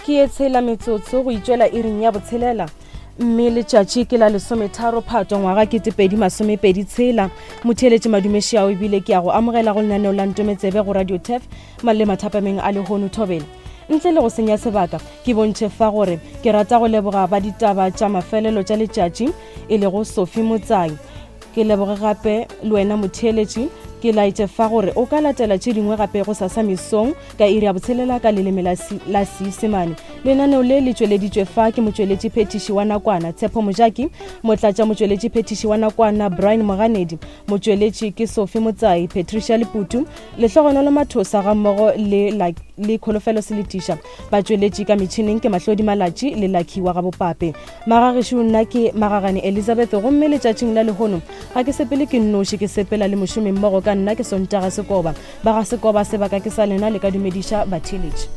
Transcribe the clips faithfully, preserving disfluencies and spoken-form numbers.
Ke ye tshela metsotso go itšwela iring ya botshelela, mme letšatši ke la lesometharo Phato ngwaga ketepedi masomepedi tshela. Motheeletši, madumešiao, ebile ke ya go amogela go lenaneo la Ntometsebe go Radio Turf le mathapameng a lehono. Thobela. Ntle le go senya sebaka, ke bontšhe fa gore ke rata go leboga ba ditaba tša mafelelo tša letšatši, e lego Sophie Motsai. Ke leboge gape le wena motheeletši. Ke laetše fa gore o ka latela tše dingwe gape go sasa mesong ka iri ya botshelela ka leleme la Seisemane. Lenaneo le le tšweleditšwe fa ke motšweletši phethiši wa nakwana Tshepo Mojaki, motlatša motšweletši phethiši wa nakwana Brian Moganedi, motšweletši ke Sophie Motsai, Patricia Leputu, Lehlogonolo Mathosa gammogo le le Kholofelo Seletiša. Batšweletši ka metšhineng ke Mahlodi Malatši le Lucky wa Gabopape. Magagešo, nna ke Magagane Elizabeth, gomme letšatšing la lehono ga ke sepele ke nnoši, ke sepela le mošomi mmogo ka nna, ke Sontaga Sekoba. Ba ga Sekoba, sebaka ke sa lena, le ka dumediša batheeletši.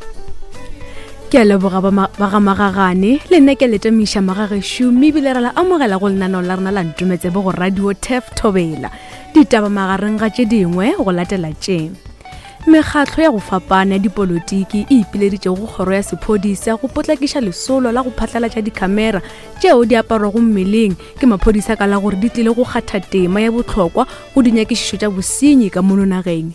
Ke a leboga ba ga Magagane. Le nna ke letamiša magagešo, mme ebile re la amogela go lenaneo la rena la Ntometsebe go Radio Turf. Thobela. Ditaba magareng ga tše dingwe go latela tše: mekgatlo ya go fapana ya dipolotiki e ipileditše go kgoro ya sephodisa go potlakiša lesolo la go phatlalatša dikhamera tšeo di aparwago mmeleng ke maphodisa ka la gore di tlile go kgatha tema ya bohlokwa go dinyakišišo tša bosenyi ka mono nageng.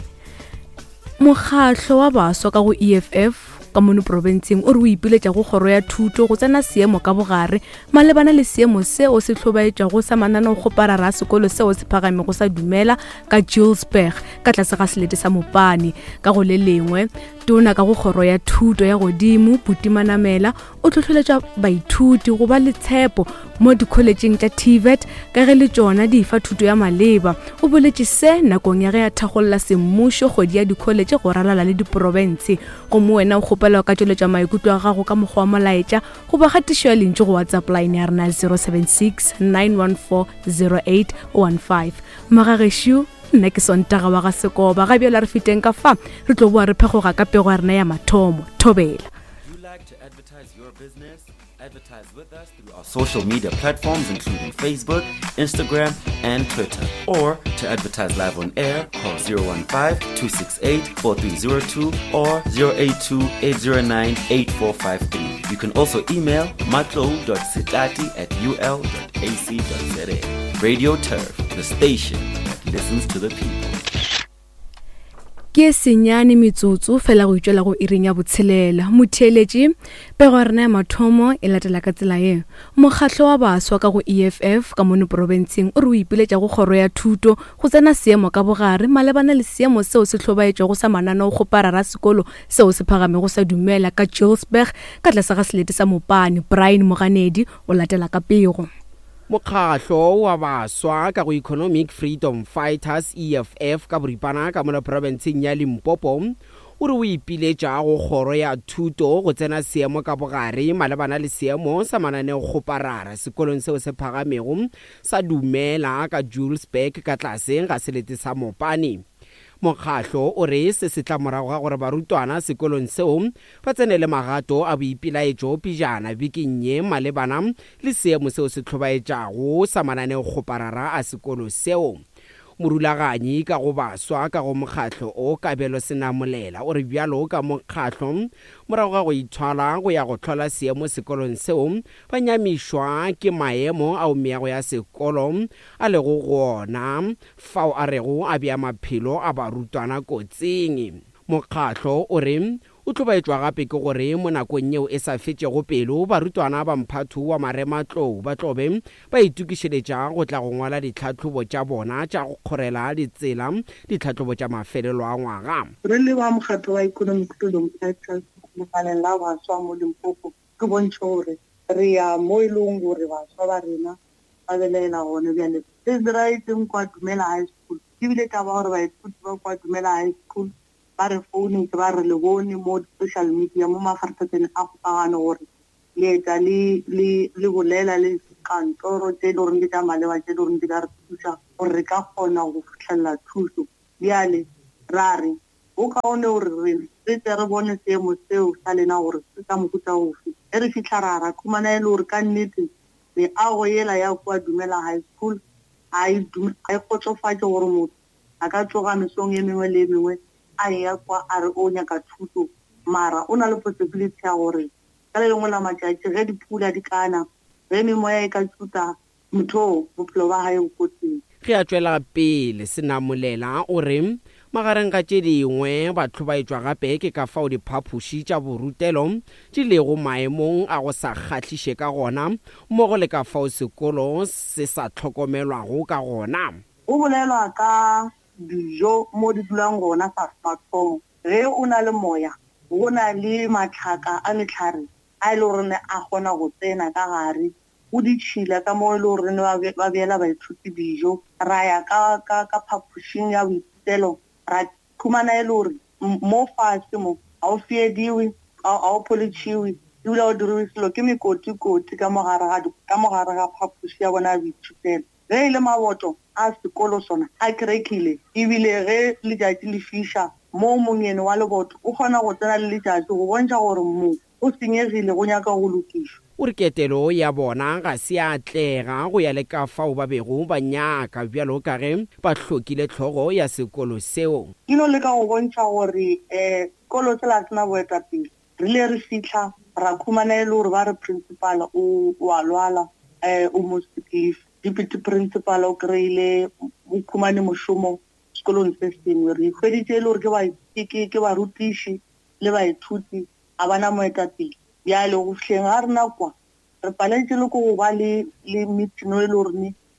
Mokgatlo wa baswa ka go E F F ka mono profenseng o re o ipiletša go kgoro ya thuto go tsena seemo ka bogare malebana le seemo seo se hlobaetšwago sa mananeokgoparara a sekolo seo se phagamego sa Dumela ka Julesburg ka tlase ga selete sa Mopane. Ka go le lengwe, tona ka go kgoro ya thuto ya godimo Buti Manamela o hlohleletša baithuti go ba le tshepo mo dikholetšeng tša TVET ka ge le tšona di fa thuto ya maleba. O boletše se nakong ya ge a thakgolla semmušo kgwedi ya dikholetše go ralala le diprofense. Gomme wena o kgopela ka tšweletša maikutlo a gago ka mokgwa wa molaetša goba kgatišo ya lentšu go WhatsApp line ya rena zero seven six nine one four zero eight one five. Magagešo, nna ke Sontaga wa ga Sekoba. Ga bjale re feteng ka fa, re tlo boa re phekgoga ka pego ya rena ya mathomo. Thobela. You like to advertise your business? Advertise with us through our social media platforms, including Facebook, Instagram, and Twitter. Or to advertise live on air, call zero one five two six eight four three zero two or zero eight two eight zero nine eight four five three. You can also email matlo dot setati at U L dot A C dot Z A. Radio Turf, the station that listens to the people. Ke senyane metsotso fela go itšwela go iring ya botshelela. Motheeletši, pego ya rena ya mathomo e latela ka tsela ye: mokgatlo wa baswa ka go E F F ka mono profenseng o re o ipiletša go kgoro ya thuto go tsena seemo ka bogare malebana le seemo seo se hlobaetšwago sa mananeokgoparara sekolo seo se phagamego sa Dumela ka Julesburg ka tlase ga selete sa Mopane. Brian Moganedi o latela ka pego. Mokgatlo wa baswa ka go Economic Freedom Fighters, E F F ka boripana, ka mola profenseng ya Limpopo o re o ipiletša go kgoro ya thuto go tsena seemo ka bogare malebana le seemo sa mananeokgoparara sekolong seo se phagamego sa Dumela ka Julesburg ka tlase ga selete sa Mopane. Mokgatlo o re se se tla morago ga gore barutwana sekolong seo ba tsene le magato a boipelaetšo pejana bekeng ye malebana le seemo seo se hlobaetšago sa mananeokgoparara a sekolo seo. Morulaganyi ka go baswa ka go mokgatlo o, Kabelo Senamolela, o re bjalo ka mokgatlo, morago ga go ithwala go ya go hlola seemo sekolong seo, ba nyamišwa ke maemo ao meago ya sekolo a lego go ona, fao a rego a bea maphelo a barutwana kotsing. Mokgatlo o re o hlobaetšwa gape ke gore mo nakong yeo e sa fetšego pelo barutwana ba mphatho wa marematlou ba tlobe ba itokišeletša go tla go ngwala ditlhahlobo tša bona tša go kgorela ditsela ditlhahlobo tša mafelelo a ngwaga. Re le ba mokgatlo wa Economic Freedom Fighters lekaleng la baswa mo Limpopo, ke bontšhe gore re ya mo e leng gore baswa ba rena ba belaela gone. Bjale se se diraetseng kwa Dumela High School ebile taba gore baithuti ba kwa Dumela High School ba re founetse, ba re le bone mo di-social media, mo mafaratlhatlheng a kgokagano, gore le eta le le le bolela le kantoro tse e le goreng ke tša maleba, tse e le goreng di ka re thuša gore re ka kgona go fitlhelela thuso. Bjale ra re go kaone gore re re tle re bone seemo seo sa lena gore se sa mohuta ofe. Ge re fitlha ra ra khumana e le gore ka nnete meago yela ya kwa Dumela High School ga e ga e kgotsofatše gore motho a ka tsoga mesong e mengwe le e mengwe a eya kwa a re o nyaka thuto, mara o na le possibility ya gore Ka le lengwe la matšatši ge dipula di kana, ge memoya e ka tšuta, motho bophelo ba hae bo kotsing. Ge a tšwela pele Senamolela o re magareng ga tše dingwe ba hlobaetšwa gape ke ka fao diphapoši tša borutelo di lego maemong a go sa kgahliše ka gona, mmogo le ka fao sekolo se sa hlokomelwago ka gona. Go bolelwa ka dijo mo di dulang gona sa mathomo. Ge o na le moya, go na le matlhaka a mehlare a e le gore a kgona go tsena ka gare, go ditšhila ka mo e le gore ba beela baithuti dijo. Ra ya ka ka ka phapošing ya boithutelo, ra khumana e le gore mo fase mo ga o fiediwe, ga o pholitšhiwe, ebile ga o diriwe selo, ke mekotikoti ka mo gare ga ka mo gare ga phapoši ya bona ya boithutelo. Ge e le maboto a sekolo sona a crackile, ebile ge letšatši le fiša mo mongene wa leboto o kgona go tsena le letšatši go bontšha gore mo go senyegile, go nyaka go lokišwa. O re ketelo ya bona ga se ya atlega go ya le ka fao ba bego ba nyaka, bjalo ka ge ba hlokile hlogo ya sekolo seo. Ke no leka go bontšha gore um sekolo sela se na boetapele. Re ile re fihla ra khumana e le gore ba re principal o a lwala, um o mo sick leave. Deputy principal o kry-ile o khumane mošomo sekolong se sengwe. Re hweditše e le gore ke ke barutiši le baithuti ga ba na moetapele. Bjale go fihleng ga rena kwa re paletše le ko go ba le le meeting e le gore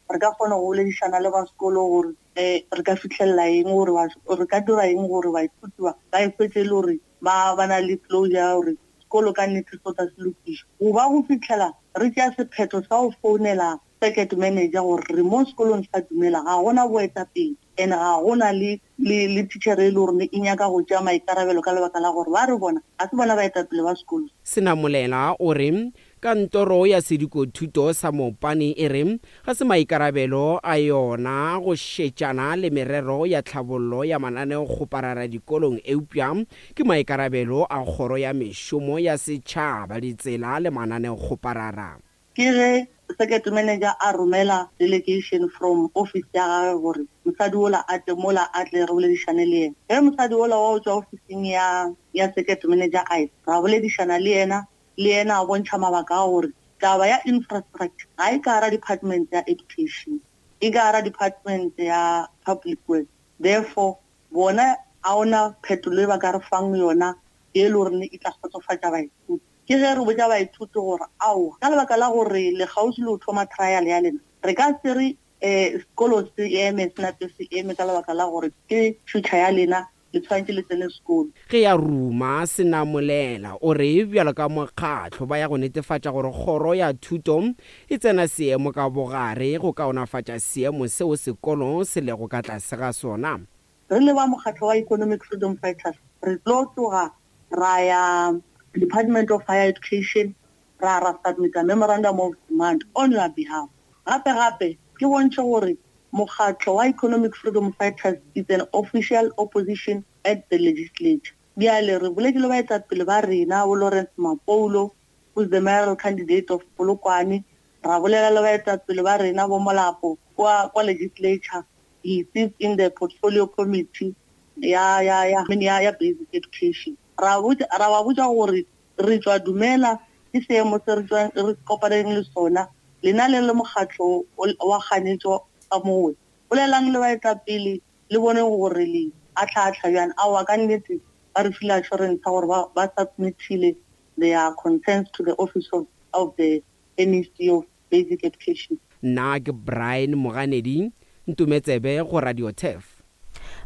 re ka kgona go boledišana le ba sekolo gore um re ka fihlelela eng, gore re ka dira eng gore baithuti ba ba e hwetše e le gore ba ba na le closure ya gore sekolo ka nnete se tla se lokišwa. Go ba go fihlela re tšea sephetho sa go founela circuit manager gore re mo sekolong sa Dumela ga gona boetapele, and ga gona le le le teacher e le gore e nyaka go tšea maikarabelo ka lebaka la gore ba re bona ga se bona baetapele ba sekolo. Senamolela o re kantoro ya sedikothuto sa Mopani e re ga se maikarabelo a yona go šetšana le merero ya tlhabollo ya mananeokgoparara dikolong, eupša ke maikarabelo a kgoro ya mešomo ya setšhaba, ditsela le mananeokgoparara. Ke ge circuit manager a romela delegation from office ya gagwe gore mosadi ola a tle mola a tle re boledišane le yena. Ge mosadi ola wa o tšwa officing ya ya circuit manager a ra boledišana le yena, le yena a bontšha mabaka a gore taba ya infrastructure ga e ka gara department ya education, e ka gara department ya public works. Therefore bona a ona phetolo e ba ka re fang yona e le gore e tla kgotsofatša baithuti. Ke ge re botša baithuti gore aowa, ka lebaka la gore le kgauswi le ho thoma trial ya lena, re ka se re um sekolo se eme, se nape se eme ka lebaka la gore ke future ya lena, le tshwanetse le tsene sekolo. Ge ya ruma Senamolela o re bjalo ka mokgatlo ba ya go netefatša gore kgoro ya thuto e tsena seemo ka bogare go kaonafatša seemo seo sekolo se lego ka tlase ga sona. Re le ba mokgatlo wa Economic Freedom Fighters re tlo tloga ra ya Department of Higher Education, ra ra submit a memorandum of demand on your behalf. Gape gape ke bontšhe gore mokgatlo wa Economic Freedom Fighters is an official opposition at the legislature. Bjale re boletše le baetapele ba rena bo Lawrence Mapoulo, who's the mayoral candidate of Polokwane, ra bolela le baetapele ba rena bo Molapo kwa kwa legislature. He sits in the portfolio committee ya ya ya ya ya basic education. Ra botša ra ba botša gore re tšwa Dumela ke seemo se re tšwa re kopaneng le sona, lena le le mokgatlo wa kganetšo ka mowe, bolelang le baetapele le bone gore le atlha-atlha bjang. Aowa, ka nnete ba re file assurance ya gore ba ba submitile their concerns to the office of, of the M E C of Basic Education. Nna ke Brian Moganedi, Ntometsebe go Radio Turf.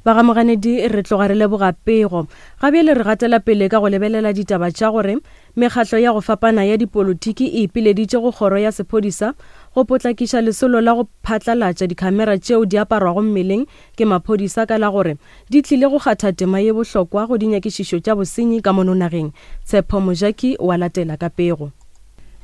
Ba ga Moganedi re tloga re leboga pego. Ga bjale re gatela pele ka go lebelela ditaba tša gore mekgatlo ya go fapana ya dipolotiki e ipileditše go kgoro ya sephodisa go potlakiša lesolo la go phatlalatša dikhamera tšeo di aparwago mmeleng ke maphodisa ka la gore di tlile go kgatha tema ye bohlokwa go dinyakišišo tša bosenyi ka mono nageng. Tshepo Mojaki wa latela ka pego.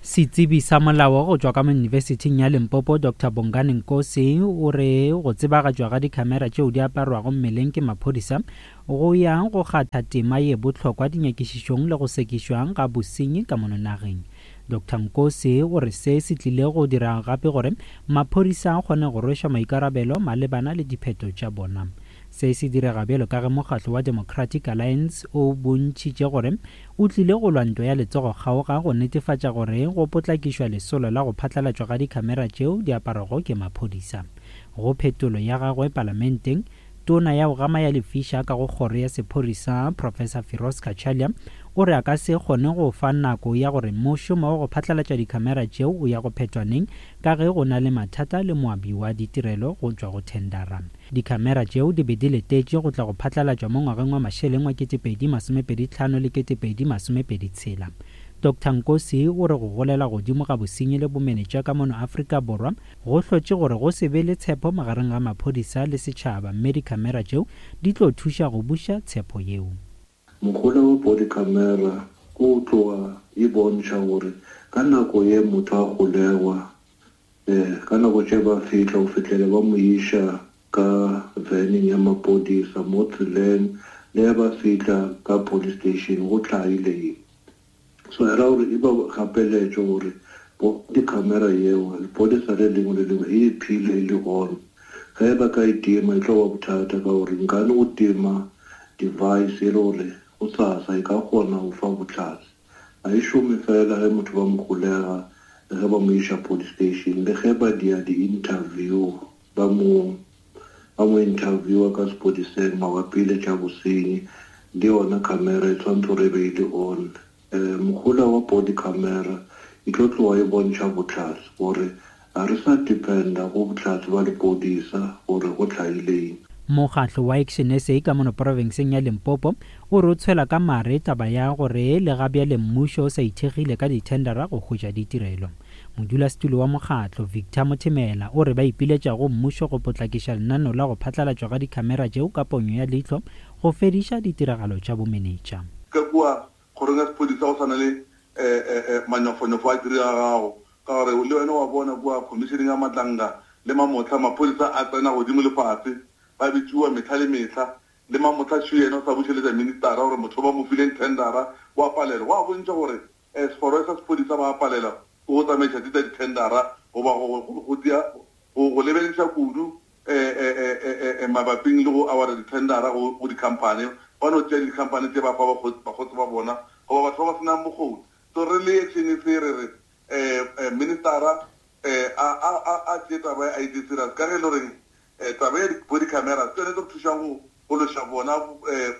Setsebi sa molao go tšwa ka Yunibesithing ya Limpopo Doctor Bongani Nkosi o re go tsebagatšwa ga dikhamera tšeo di aparwago mmeleng ke maphodisa go ya go kgatha tema ye bohlokwa dinyakišišong le go sekišwa ga bosenyi ka mono nageng. Doctor Nkosi o re se se tlile go dira gape gore maphodisa a kgone go rwešwa maikarabelo malebana le diphetho tša bona. Se se direga bjalo ka ge mokgatlo wa Democratic Alliance o bontšhitše gore o tlile go lwa ntwa ya letsogo kgaoga go netefatša gore go potlakišwa lesolo la go phatlalatšwa ga dikhamera tšeo di aparwago ke maphodisa. Go phetolo ya gagwe palamenteng, tona ya go gama ya lefiša ka go kgoro ya sephodisa Professor Firoz Cachalia o re a ka se kgone go fa nako ya gore mošomo wa go phatlalatša dikhamera tšeo o ya go phethwa neng ka ge go na le mathata le moabi wa ditirelo go tšwa go thendara. Dikhamera tšeo di be di letetše go tla go phatlalatšwa mo ngwageng wa mašeleng wa ketepedi masomepedi tlhano le ketepedi masomepedi tshela. Doctor Nkosi o re go golela godimo ga bosenyi le bomenetša ka mono Afrika Borwa go hlotše gore go se be le tshepo magareng ga maphodisa le setšhaba, mme dikhamera tšeo di tlo thuša go buša tshepo yeo. Mohola wa body camera ko tloga e bontšha gore ka nako ye motho a golegwa, eh ka nako tše ba fihla go fihlele ba mo iša ka vaneng ya maphodisa mo tseleng, le ba fihla ka police station go tlhaile eng. So era gore e ba gapeletše gore body camera yeo lephodisa le lengwe le lengwe e phile e le gona. Ge ba ka e tima e tlo ba bothata ka gore nkane go tima device e le gore go sasa e ka kgona go fa bohlatse. Ga e šome fela ge motho ba mo golega, ge ba mo iša police station, le ge ba dia di-interview, ba mo ba mo interviewa ka sepodiseng mabapi le tša bosenyi, le yona camera e tshwanetse gore e be e le on. Eh, mohola wa body camera e tlo tloga e bontšha bohlatse gore ga re sa dependa go bohlatse ba lepodisa gore go tlhaile eng. Mokgatlo wa Action S A ka mono profenseng ya Limpopo o re o tshwela ka mare taba ya gore le ga bjale mmušo o sa ithekgile ka dithendara go hwetša ditirelo. Modulasetulo wa mokgatlo Victor Mothemela o re ba ipiletša go mmušo go potlakiša lenaneo la go phatlalatšwa ga dikhamera tšeo ka ponyo ya leihlo go fediša ditiragalo tša bomenetša. Ka kua kgorong ya sephodisa go swana le manyofonyofo a diregago ka gore le wena wa bona kua commissioning ya Matlanga le Mamotlha maphodisa a tsena godimo le fase ba bitšiwa mehla le mehla le Mamotlha tšho yena o sa bušeletša ministera gore motho ba mo fileng tendera wa palela. Go a bontšha gore sekgoro sa sephodisa ba palela go tsamaiša tša ditendera goba go go lebelediša kudu mabaping le go awara ditendera go di-company. Ba no tšea di-company tše ba fa bakgotsi ba bona goba batho ba ba senang bokgoni. So re le Action S A re re ministera a tšee taba ya I T serious ka ge e le goreng taba ya body camera ke yone e tlo re thušang go go loša bona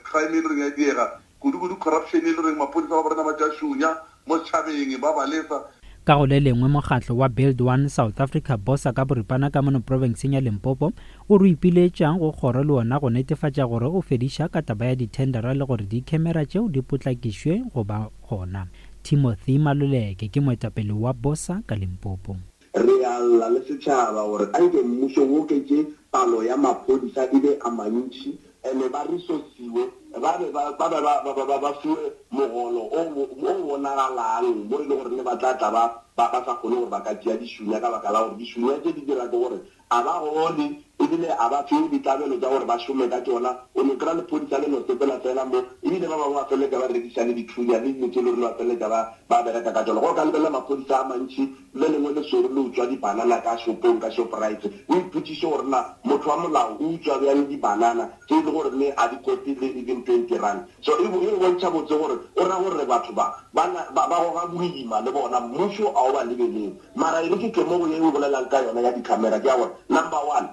crime e le goreng ya diega kudu-kudu corruption e le goreng maphodisa ba rena ba tša šunya mo setšhabeng ba ba lesa. Ka go le lengwe mokgatlo wa Build One South Africa Bosa ka boripana ka mono profenseng ya Limpopo o re ipiletšang go kgoro le ona go netefatša gore o fediša ka taba ya dithendera le gore dikhamera tšeo di potlakišwe go ba gona. Timothy Maluleke ke moetapele wa Bosa ka Limpopo. Re a lla le setšhaba gore anke mmušo o oketše palo ya maphodisa e be a mantši, ene ba resourciwe, ba be ba ba ba ba ba fiwe mogolo o o bonagalang mo e le gore ne ba tla tla ba ba ba sa kgone gore ba ka tšea dišunya ka baka la gore dišunya tše di dira ke gore a ba gole ebile a ba fiwe ditlabelo tša gore ba šome ka tšona. O no kry-a lephodisa le no sepela fela mo, ebile ba bangwe ba feleletša ba rekiša le dithunya le dilo tše le gore ba feleletša ba ba bereka ka tšona. Go ka lebelela maphodisa a mantši le lengwe le swere le utswa dibanana ka shopong ka Shoprite, o ipotšiše gore na motho wa molao o utswa bjang dibanana tše e le gore ne a di kote le even twenty rand. So e bontšha botse gore o ra gore batho ba ba ba goga boima le bona mmušo a o ba lebeleng. Mara e re ke tle mo go ye o bolelang ka yona ya di-camera ke ya gore number one,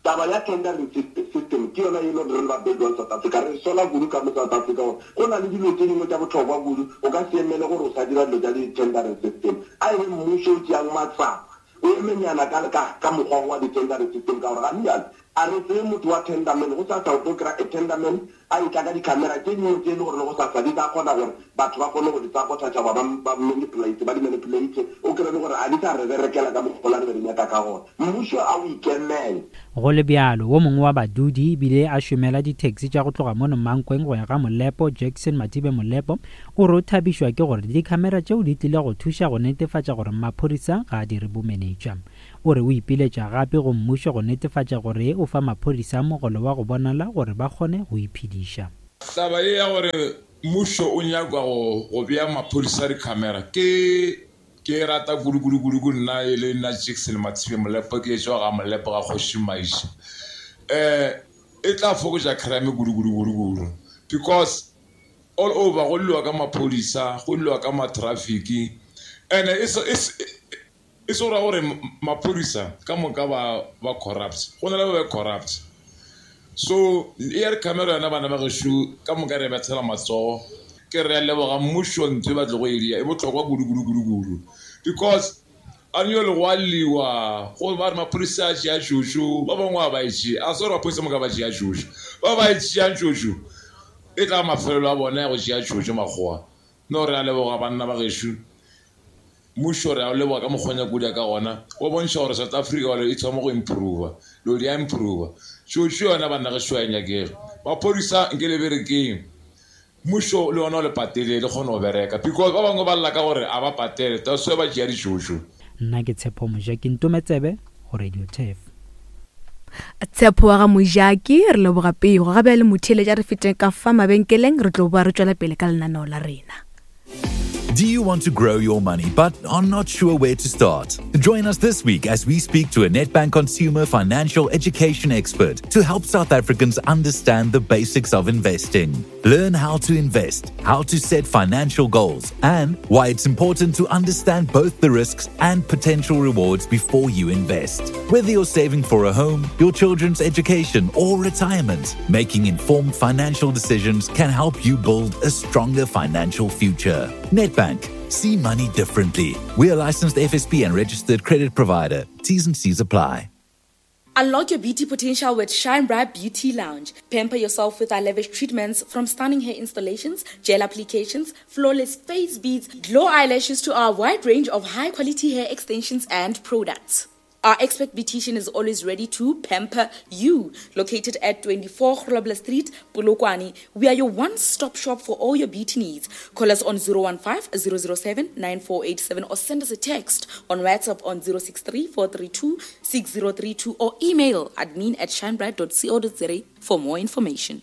taba ya tendering system ke yona e le gore re ba Build One South Africa re sola kudu ka mo South Africa gore go na le dilo tše dingwe tša bohlokwa kudu o ka se emele gore o sa dira dilo tša di-tendering system. A e be mmušo o tšeang matsapa o emenyana ka ka mokgwa wa di-tendering system ka gore ga bjale a re tseye motho wa tenderman go sasa o tlo kry-a a tenderman a etla ka di-camera tše dingwe tše e le gore le go sasa di tla kgona gore batho ba kgone go di sabotage ba ba manipulate ba di manipulate o kry-e le gore a di sa re berekela ka mokgwa re be re nyaka ka gona. Mmušo a o ikemele. Go le bjalo, wo mongwe wa badudi ebile a šomela di-taxi tša go tloga mono Mankweng go ya ga Molepo, Jackson Matibe Molepo, o re o thabišwa ke gore dikhamera tšeo di tlile go thuša go netefatša gore maphodisa ga a dire bomenetša. O re o ipiletša gape go mmušo go netefatša gore o fa maphodisa mogolo wa go bonala gore ba kgone go iphediša. Taba ye ya gore mmušo o nyaka go go bea maphodisa dikhamera ke ke rata kudu kudu kudu kudu nna e le nna Jackson Matibe Molepo ke tšwa ga Molepo ga Kgoši Maisha. Eh E tla fokotša crime kudu kudu kudu kudu because all over go lliwa ka maphodisa, go lliwa ka ma-traffic and e se e se ra gore maphodisa ka moka ba ba corrupt, go na le ba ba corrupt. So e ya re camera yona bana ba gešo ka moka re bethela matsogo. Ke re a leboga mmušo ntho e ba tlogo e dia e bohlokwa kudu kudu kudu kudu because a nyo le go a lliwa go ba re maphodisa a tšea tšhošo, ba bangwe a ba e tšea, a se gore maphodisa moka ba tšea tšhošo, ba ba e tšeang tšhošo e tla mafelelo a bona ya go tšea tšhošo makgowa. No re a leboga banna ba gešo, mmušo re a leboga ka mokgwa kudu ka gona go bontšha gore South Africa e thoma go improve, lo di a improve. Tšhošo yona banna gešo a e nyakege, maphodisa nke le berekeng, mmušo le yona o le patele le kgone go bereka because ba bangwe ba lla ka gore a ba patele, that's why ba tšea ditšhošo. Nna ke Tshepo Mojaki, Ntometsebe go Radio Turf. Tshepo wa ga Mojaki, re leboga pego. Gabe le motheeletša re feteng ka fa mabenkeleng, re tlo boa re tšwela pele ka lenaneo la rena. Do you want to grow your money but are not sure where to start? Join us this week as we speak to a Nedbank consumer financial education expert to help South Africans understand the basics of investing. Learn how to invest, how to set financial goals, and why it's important to understand both the risks and potential rewards before you invest. Whether you're saving for a home, your children's education, or retirement, making informed financial decisions can help you build a stronger financial future. Nedbank. See money differently. We are licensed F S P and registered credit provider. T's and C's apply. Unlock your beauty potential with Shine Bright Beauty Lounge. Pamper yourself with our lavish treatments, from stunning hair installations, gel applications, flawless face beads, glow eyelashes to our wide range of high-quality hair extensions and products. Our expert beautician is always ready to pamper you. Located at twenty-four Grobler Street, Polokwane, we are your one-stop shop for all your beauty needs. Call us on zero one five, zero zero seven, nine four eight seven or send us a text on WhatsApp on zero six three, four three two, six zero three two or email admin at shinebright dot co dot za for more information.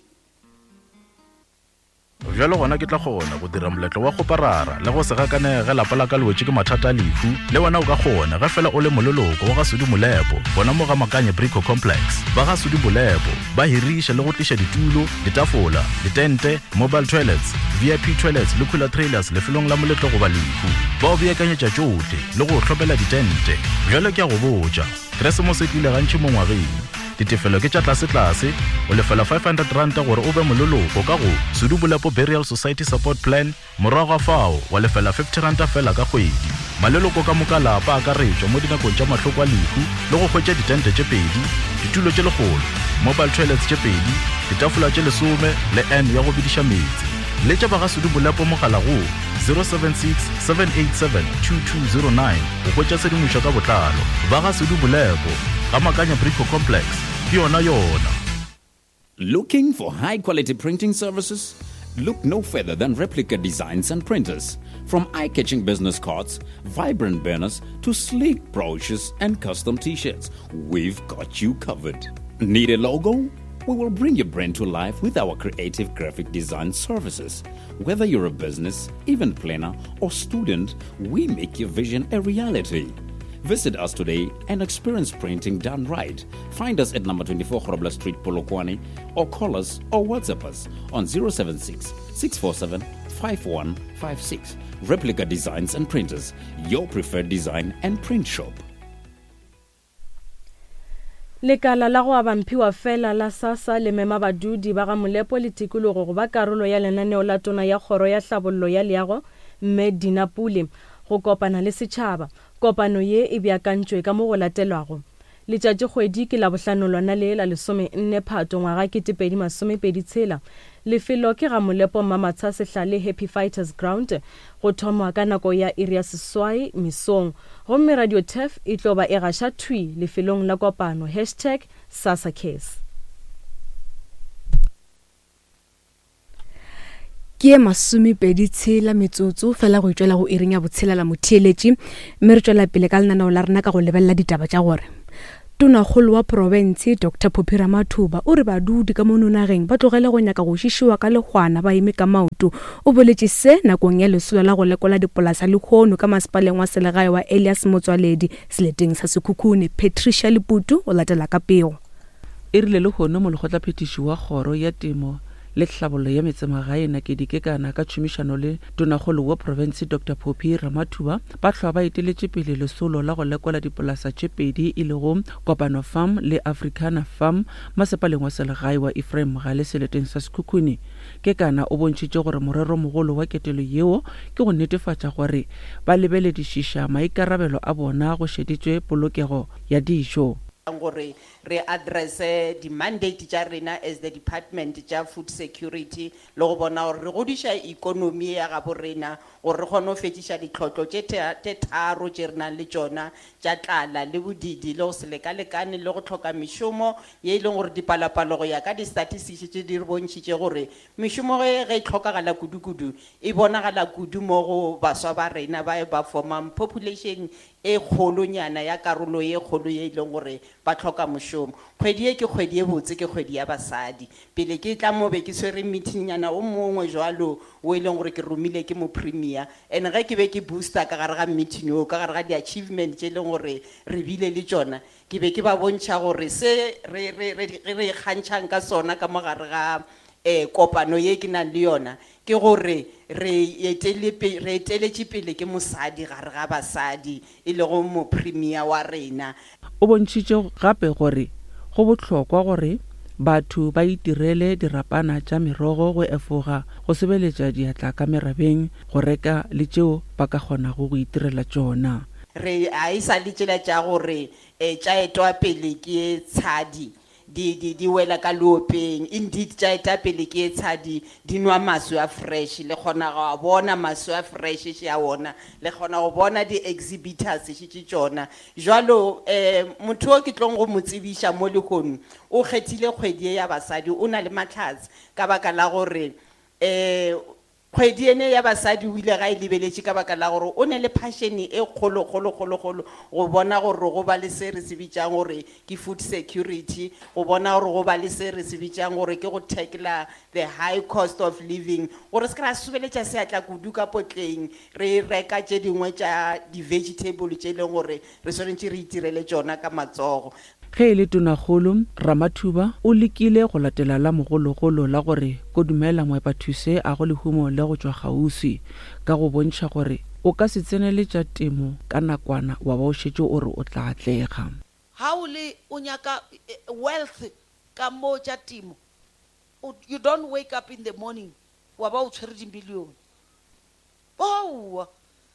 Bjalo gona ke tla kgona go dira moletlo wa go parara le go se gakanege lapa la ka le wetše ke mathata a lehu. Le wena o ka kgona ge fela o le moleloko wa ga Sudi Molepo, bona mo ga Makanye Brico Complex. Ba ga Sudi Molepo ba hiriša le go tliša ditulo, ditafola, ditente, mobile toilets, V I P toilets le cooler trailers lefelong la moletlo goba lehu. Ba o beakanyetša tšohle le go hlopela ditente. Bjalo ke a go botša, Keresemose e tlile gantši mo ngwageng. Ditefelo ke tša tlase-tlase, o lefela five hundred rand gore o be moleloko ka go Sudi Molepo Burial Society Support Plan, morago ga fao wa lefela fifty rand fela ka kgwedi. Maleloko ka moka lapa a akaretšwa mo dinakong tša mahloko a lehu le go hwetša ditente tše pedi, ditulo tše lekgolo, mobile toilets tše pedi, ditafola tše lesome le N ya go bidiša meetse. Letša ba ga Sudi Molepo mogala go zero seven six, seven eight seven, two two zero nine go hwetša tshedimošo ka botlalo. Ba ga Sudi Molepo, ga Makanya Brico Complex, ke yona yona. Looking for high-quality printing services? Look no further than Replica Designs and Printers. From eye-catching business cards, vibrant banners, to sleek brochures and custom t-shirts, we've got you covered. Need a logo? We will bring your brand to life with our creative graphic design services. Whether you're a business, event planner, or student, we make your vision a reality. Visit us today and experience printing done right. Find us at number twenty-four Grobler Street, Polokwane, or call us or WhatsApp us on zero seven six, six four seven, five one five six. Replica Designs and Printers, your preferred design and print shop. Lekala la go abamphiwa fela la SASSA le mema badudi ba ga Molepo le tikologo go ba karolo ya lenaneo la tona ya kgoro ya hlabollo ya leago Mme Dina Pule go kopana le setšhaba. Kopano ye e beakantšwe ka mo go latelwago. Letšatšikgwedi ke Labohlano lona le la lesome nne Phato ngwaga kete pedi masomepedi tshela. Lefelo ke ga Molepo Mamatsha Sehlale Happy Fighters Ground go thomwa ka nako ya iri ya seswai mesong. Gomme Radio Turf e tlo ba e gaša thwi lefelong la kopano hashtag SASSA Cares. Ke masomepedi tshela metsotso fela go itšwela go iring ya botshelela motheeletši, mme re tšwela pele ka lenaneo la rena ka go lebelela ditaba tša gore Tonakgolo wa profense Doctor Phophi Ramathuba o re badudi ka mono nageng ba tlogele go nyaka go šišiwa ka lehwana ba eme ka maoto. O boletše se nakong ya lesolo la go lekola dipolasa lehono ka masepaleng wa selegae wa Elias Motswaledi seleteng sa Sekhukhune. Patricia Leputu o latela ka pego. E rile lehono molekgotlaphethiši wa kgoro ya temo le tlhabollo ya metsemagae Nakedi Kekana ka tšhomišano le tonakgolo wa profense Doctor Phophi Ramathuba ba hlwa ba eteletše pele lesolo la go lekola dipolasa tše pedi e lego Kopano Farm le Africana Farm masepaleng wa selegae wa Ephraim Mogale seleteng sa Sekhukhune. Kekana o bontšhitše gore moreromogolo wa ketelo yeo ke go netefatša gore ba lebeledišiša maikarabelo a bona go šeditšwe polokego ya dijo. Gore re addresse di-mandate tša rena as the department tša food security le go bona gore re godiša economy ya gabo rena gore re kgone go fetiša ditlhotlo tše tše tharo tše re nang le tšona tša tlala le bodidi le go se lekalekane le go tlhoka mešomo ye e leng gore dipalopalo go ya ka di-statistics tše di re bontšhitše gore mešomo ge ge e tlhokagala kudu-kudu e bonagala kudu mo go baswa ba rena ba ba formang population e kgolonyana ya karolo ye kgolo ye e leng gore ba tlhoka mošomo. Kgwedi ye ke kgwedi ye botse, ke kgwedi ya basadi. Pele ke tla mo be ke tshwere meeting-nyana o mongwe jwalo o e leng gore ke romile ke mo premier, and ge ke be ke booster ka gare ga meeting o, ka gare ga di-achievement tše e leng gore re bile le tšona, ke be ke ba bontšha gore se re re re re ikgantšhang ka sona ka mo gare ga eh kopano ye ke nang le yona ke gore re etele re eteletše pele ke mosadi gare ga basadi e lego mo premier wa rena. O bontšhitše gape gore go bohlokwa gore batho ba itirele dirapana tša merogo go efoga go sebeletša diatla ka merabeng go reka le tšeo ba ka kgonago go itirela tšona. Re a e sa le tšela tša gore eh tša etwa pele ke tshadi di di di wela ka leopeng, indeed tša eta pele ke tshadi di nwa maswi a fresh, le kgona go bona maswi a fresh še a ona, le kgona go bona di-exhibitors še tše tšona. Jwalo eh motho o ke tlong go mo tsebiša mo lehono o kgethile kgwedi ye ya basadi, o na le mahlatse ka baka la gore eh kgwedi ene ya basadi o ile ga e lebeletše ka baka la gore o ne le passion e kgolo kgolo kgolo kgolo go bona gore go ba le se re se bitsang gore ke food security, go bona gore go ba le se re se bitsang gore ke go tackle the high cost of living, gore se ka ra sobeletša seatla kudu ka potleng re reka tše dingwe tša di-vegetable tše e leng gore re swanetše re itirele tšona ka matsogo. Ge e le tonakgolo Ramathuba o lekile go latela la mogologolo la gore kodumela moepathuse a go lehumo le go tšwa kgauswi ka go bontšha gore o ka se tsenele tša temo ka nakwana wa ba o šetše o re o tla atlega. Ha o le o nyaka wealth ka mo tša temo, you don't wake up in the morning wa ba o tshwere di-million. Boa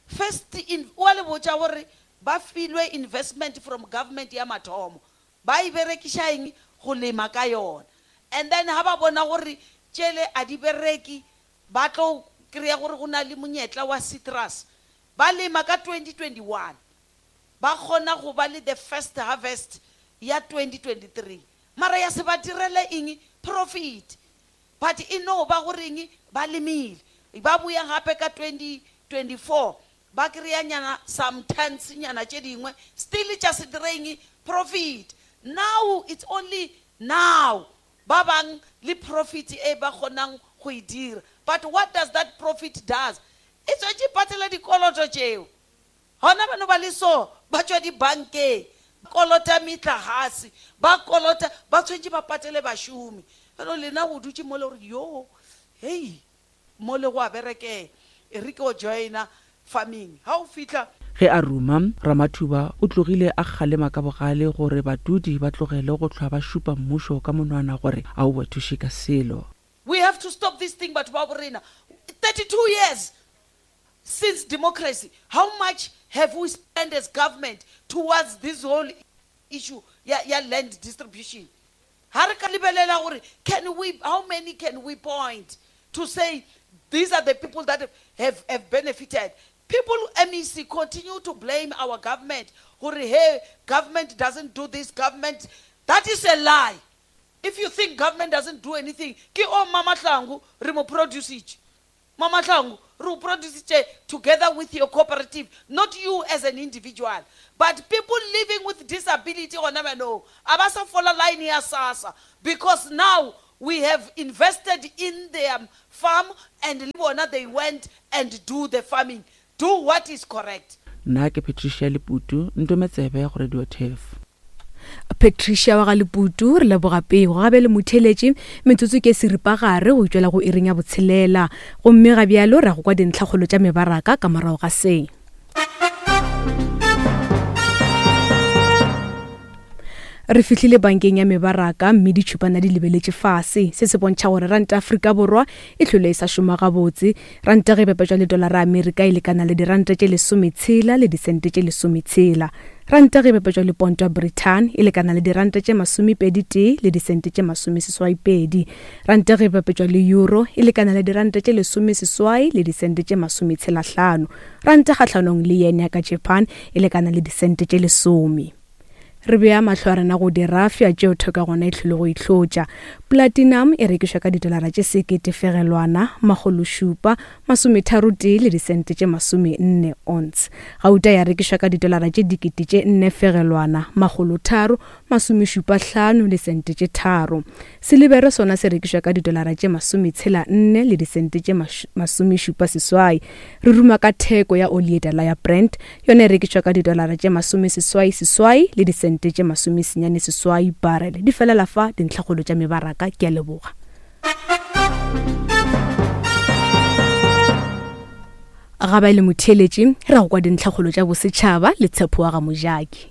first in wa le botša gore ba filwe investment from government ya mathomo, ba e berekiša eng go lema ka yona, and then ha ba bona gore tšele a di bereke ba tlo kry-a gore go na le monyetla wa citrus, ba lema ka twenty twenty-one ba kgona go ba le the first harvest ya twenty twenty-three, mara ya se ba direle eng profit, but e no ba goreng ba lemile. Ba boya gape ka twenty twenty-four ba kry-a nyana some tons nyana tše dingwe still tša se direng profit. Now it's only now ba bang le profit e ba kgonang go e dira, but what does that profit does? E tswetše patela dikoloto tšeo gona bano ba le so ba tšwa dibankeng kolota metlagase ba kolota ba tshwanetse ba patele bašomi. Bano lena go dutše mo le gore yo hei mo le go a berekela e re ke o joina farming ha o fihla. Ge a ruma Ramathuba o tlogile a kgalema ka bogale gore badudi ba tlogele go hlwa ba šupa mmušo ka monwana gore a o ba thuše ka selo. We have to stop this thing batho ba borena. thirty-two years since democracy, how much have we spent as government towards this whole issue ya, ya land distribution? Ha re ka lebelela gore can we, how many can we point to say these are the people that have, have benefited? People, M E C, continue to blame our government. Gore, hey, government doesn't do this, government. That is a lie. If you think government doesn't do anything, ke o Mama Hlangu re mo produce it. Mama Hlangu re produce it together with your cooperative, not you as an individual. But people living with disability gona bano, a ba sa fola line ya SASSA, because now we have invested in their farm and le bona they went and do the farming. Do what is correct. Nna ke Patricia Leputu, Ntometsebe go Radio Turf. Patricia wa ga Leputu, re leboga pego. Gabe le motheletši, metsotso ke seripagare go tšwela go iring ya botshelela, gomme ga bjalo ra go kwa dintlhakgolo tša mebaraka ka morago ga se. Re fihlile bankeng ya mebaraka mme ditšhupana di lebeletše fase. Se se bontšha gore ranta Afrika Borwa e hlole e sa šoma gabotse. Ranta ge e bapetšwa le dolara Amerika e lekana le diranta tše lesometshela le disente tše lesometshela. Ranta ge e bapetšwa le ponto ya Britain e lekana le diranta tše masomepedi tee le disente tše masomeseswai pedi. Ranta ge e bapetšwa le euro e lekana le diranta tše lesomeseswai le disente tše masometshela hlano. Ranta kgahlanong le yen ya ka Japan e lekana le disente tše lesome. Re bea mahlo a rena go dirafia tšeo theko gona e hlile go itlhotša. Platinum e rekišwa ka didolara tše sekete fegelwana makgolo šupa masometharo tee le disente tše masome nne ounce. Gauta ya rekišwa ka didolara tše dikete tše nne fegelwana makgolo tharo masomešupa hlano le sente tše tharo. Silibere sona se rekišwa ka didolara tše masometshela nne le disente tše masomešupa seswai. Re ruma ka theko ya oli e tala ya Brent, yona e rekišwa ka didolara tše masomeseswai seswai le disente tše masomesenyane seswai barrel. Di felela fa dintlhakgolo tša mebaraka. Ke a leboga. Ga ba le motheletši, re go kwa dintlhakgolo tša bosetšhaba le Tshepo wa ga Mojaki.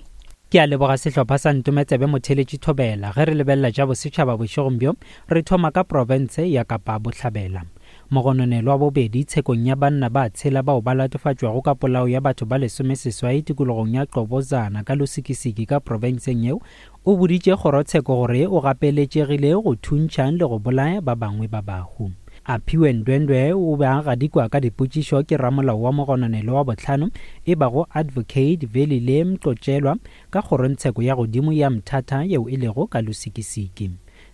Ke a leboga sehlopha sa Ntometsebe motheletši Thobela. Ge re lebelela tša bosetšhaba bošegong bjo, re thoma ka profense ya Kapa Bohlabela. Mogononelwa wa bobedi tshekong ya banna ba tshela bao ba latofatšwago ka polao ya batho ba lesomeseswai tikologong ya Qobozana ka Lusikisiki ka profenseng yeo, o boditše kgorotsheko gore o gapeletšegile go thuntšha le go bolaya ba bangwe ba bahu. Aphiwe Ndwendwe o be a gadikwa ka dipotšišo ke ramolao wa mogononelo wa bohlano e bago Advocate Velile Mqotshelwa ka kgorongtsheko ya godimo ya Mthatha yeo e lego ka Lusikisiki.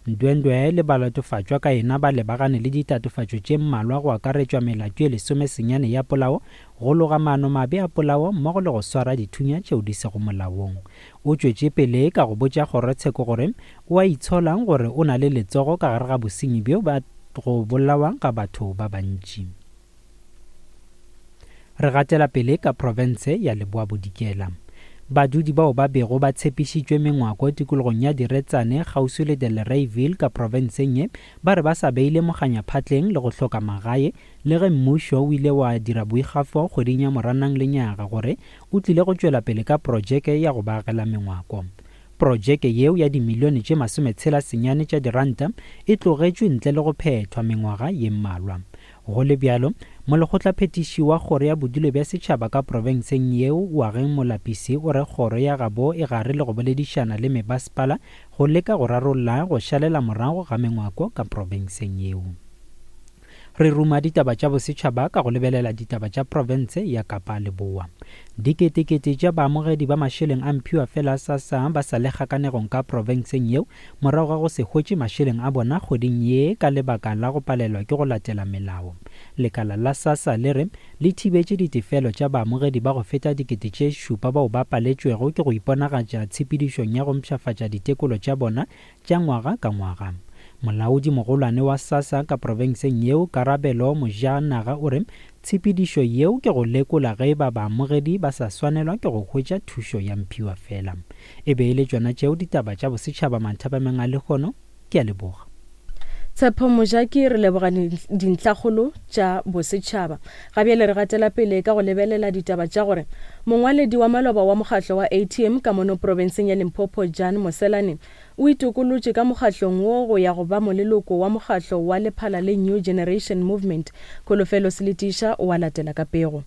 Ndwendwe le balatofatšwa ka yena ba lebagane le ditatofatšo tše mmalwa go akaretšwa melato ye lesomesenyane ya polao, go loga maano mabe a polao mmogo le go swara dithunya tšeo di sego molaong. O tšwetše pele ka go botša kgorotsheko gore o a itshola gore o na le letsogo ka gare ga bosenyi bjo ba go bolawa ga batho ba bantši. Re gatela pele ka profense ya Leboa Bodikela. Badudi bao ba bego ba tshepišitšwe mengwako tikologong ya Diretsane kgauswi le Delareyville ka profenseng ye ba re ba sa beile moganyaphatleng le go hloka magae, le ge mmušo o ile wa dira boikgafo kgweding ya Moranang lenyaga gore o tlile go tšwela pele ka projeke ya go ba agela mengwako. Projeke yeo ya dimilione tše masometshela senyane tša diranta e tlogetšwe ntle le go phethwa mengwaga ye mmalwa. Go le bjalo, molekgotlaphethiši wa kgoro ya bodulo bja setšhaba ka profenseng yeo Oageng Molapisi o re kgoro ya gabo e gare le go boledišana le mebasepala go leka go rarolla go šalela morago ga mengwako ka profenseng yeo. Re ruma ditaba tša bosetšhaba ka go lebelela ditaba tša profense ya Kapa Leboa. Diketekete tša baamogedi ba mašeleng a mphiwa fela SASSA ba sa le kgakanegong ka profenseng yeo morago ga go se hwetše mašeleng a bona kgweding ye ka lebaka la go palelwa ke go latela melao. Lekala la SASSA le re le thibetše ditefelo tša baamogedi ba go feta dikete tše šupa bao ba paletšwego ke go iponagatša tshepedišong ya go mpshafatša ditekolo tša bona tša ngwaga ka ngwaga. Molaodi mogolwane wa SASSA ka profenseng yeo Karabelo Mojanaga o re tshepedišo yeo ke go lekola ge ba baamogedi ba sa swanelwa ke go hwetša thušo ya mphiwa fela. E be e le tšona tšeo ditaba tša bosetšhaba manthapameng a lehono. Ke a leboga. Tshepo Mojaki, re leboga dintlhakgolo tša bosetšhaba. Ga bjale re gatela pele ka go lebelela ditaba tša gore mongwaledi wa maloba wa mokgatlo wa A T M ka mono profenseng ya Limpopo Jan Moselane o itokolotše ka mokgatlong wo go ya go ba moleloko wa mokgatlo wa lephala le New Generation Movement. Kholofelo Seletiša o a latela ka pego.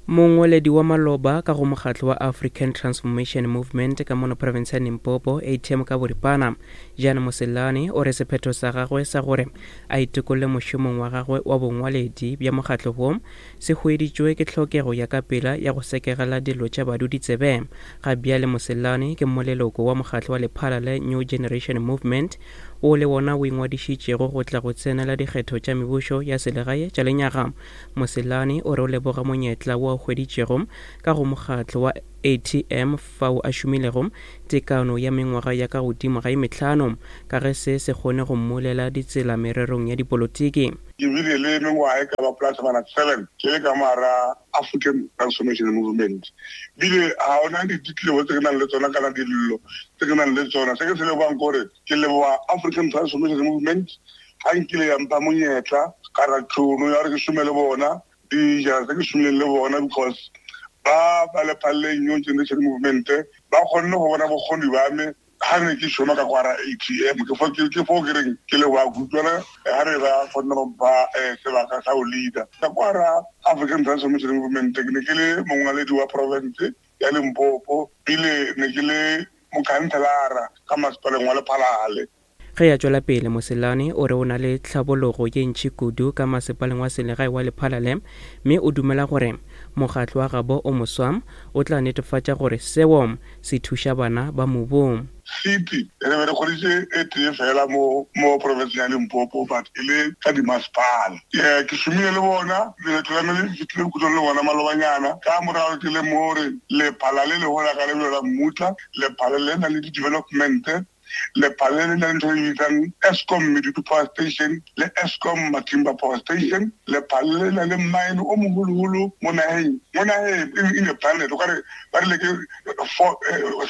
Mongwaledi wa maloba ka go mokgatlo wa African Transformation Movement ka mono province ya Limpopo A T M ka boripana Jan Moselane o re sephetho sa gagwe sa gore a itokolle mošomong wa gagwe wa bongwaledi bja mokgatlo wo se hweditšwe ke tlhokego ya ka pela ya go sekegela dilo tša badudi tsebe. Ga bjale Moselane ke moleloko wa mokgatlo wa lephala le New Generation Movement o le wona o ingwadišitšego go tla go tsenela dikgetho tša mebušo ya selegae tša lenyaga. Moselane o re o leboga monyetla wo a hweditšego ka go mokgatlo wa A T M fao a šomilego tekano ya mengwaga ya ka godimo ga e mehlano ka ge se se kgone go mmulela ditsela mererong ya dipolotiki. Ke bile le mengwaga e ka ba plus minus seven ke le ka mara African Transformation Movement. Bile ga ona ditlebo tse ke nang le tsona kana dillo tse ke nang le tsona. Se ke se lebogang kore ke leboga African Transformation Movement ga nkile ya mpha monyetla ka ra tšhono ya gore ke šome le bona dijara tse ke šomileng le bona because ba ba Lephalale New Generation Movement ba kgonne go bona bokgoni ba me ga ne ke šoma ka kwara A T M. Ke fo ke fo ke reng ke leboga kutlwana ga re ba kgonne go mpha sebaka sa go leader ka kwara African Transformation Movement. Ke ne ke le mongwaledi wa province ya Limpopo, bile ne ke le mokhanselara ka masepaleng wa Lephalale. Ge a tšwela pele, Moselane o re o na le tlhabologo ye ntši kudu ka masepaleng wa selegae wa Lephalale, mme o dumela gore mokgatlo wa gabo o moswa o tla netefatša gore seo se thuša bana ba mobung. City re be re kgoditše e tee fela mo mo provinceng ya Limpopo, but e le ka dimasepala. Ke šomile le bona leeto la me le fihlile bokhutlong le bona malobanyana. Ka morago ke le mo gore Lephalale le gola ka lebelo la mmutla, Lephalale le na le di-development, Lephalale le na le ntho e bitsang Eskom Medupi Power Station le Eskom Matimba Power Station. Lephalale le na le mine o moholoholo mo naheng mo naheng in the planet, o kare ba rile ke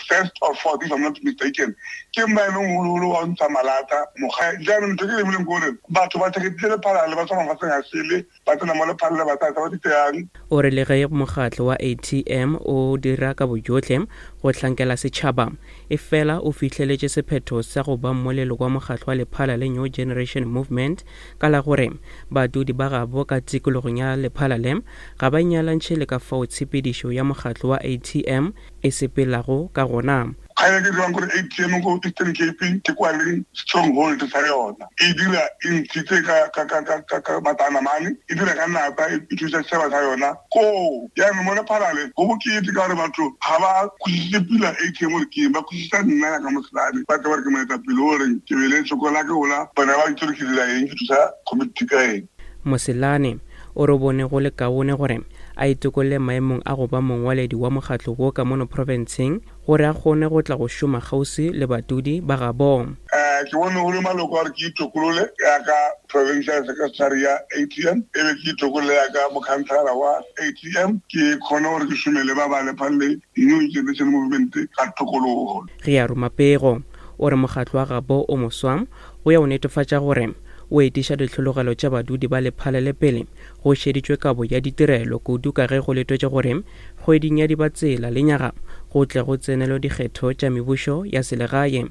first or fourth if I'm not mistaken. Ke mine o moholoholo wa ntsha malata mogae. Jaanong ntho ke lemileng ke gore batho ba theketile Lephalale ba tswa mafatsheng a sele ba tsena mo Lephalale ba tsaya tsa ba di tseyang. O re le ge mokgatlo wa A T M o dira ka bojotlhe go hlankela setšhaba, e fela o fihleletše sephetho sa go ba mmolelo wa mokgatlo wa Lephalale New Generation Movement ka la gore badudi ba gabo ka tikologong ya Lephalale ga ba inyalantšhe le ka fao tshepedišo ya mokgatlo wa A T M e sepelago ka gona. Kgale ke dirang gore A T M ko Eastern Cape ke kwa leng stronghold sa yona. E dira e ntshitse ka ka ka ka ka matanamane, e dira ka nata, e thusa setšhaba sa yona koo. Jaanong mo Lephalale go bokete ka gore batho ga ba kwešiše pila A T M gore ke eng, ba kwešiša nna ya ka Moselane, ba tseba gore ke moetapele o reng ke bele sokola ke gola, bona ba itse gore ke dira eng, ke thusa community ka eng. Moselane o re bone go le kaone gore a itokolle maemong a go ba mongwaledi wa mokgatlo wo ka mono profenseng gore a kgone go tla go šoma kgauswi le badudi ba gabo. Ke bone go le maloko a gore ke itokolole yaka provincial secretary ya A T M, e be ke itokolole yaka mokhanselara wa A T M, ke kgone gore ke šome le ba ba Lephalale New Generation Movement ka tokologo. Ge a roma pego, o re mokgatlo wa gabo o moswa o ya o netefatša gore o etiša ditlhologelo tša badudi ba Lephalale pele go šeditšwe kabo ya ditirelo kudu ka ge go letwetše gore kgweding ya Dibatsela lenyaga go tle go tsenelwe dikgetho tša mebušo ya selegae.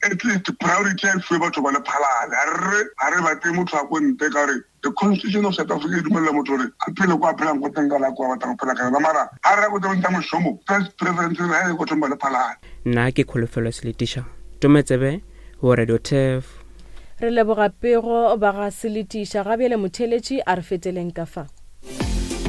At least priority e fiwe batho ba Lephalale. Ha re ha re batle motho a ko ntle ka gore the Constitution of South Africa e dumella motho gore a phele kwa a phelang ko teng ka nako a batlang go phela ka yona, mara ha re ya ko teng tsa mošomo, first preference ha e ko thong ba Lephalale. Nna ke Kholofelo Seletiša, Tometsebe go Radio Turf. Re leboga pego ba ga Seletiša. Ga bjale motheletši a re feteleng ka fa.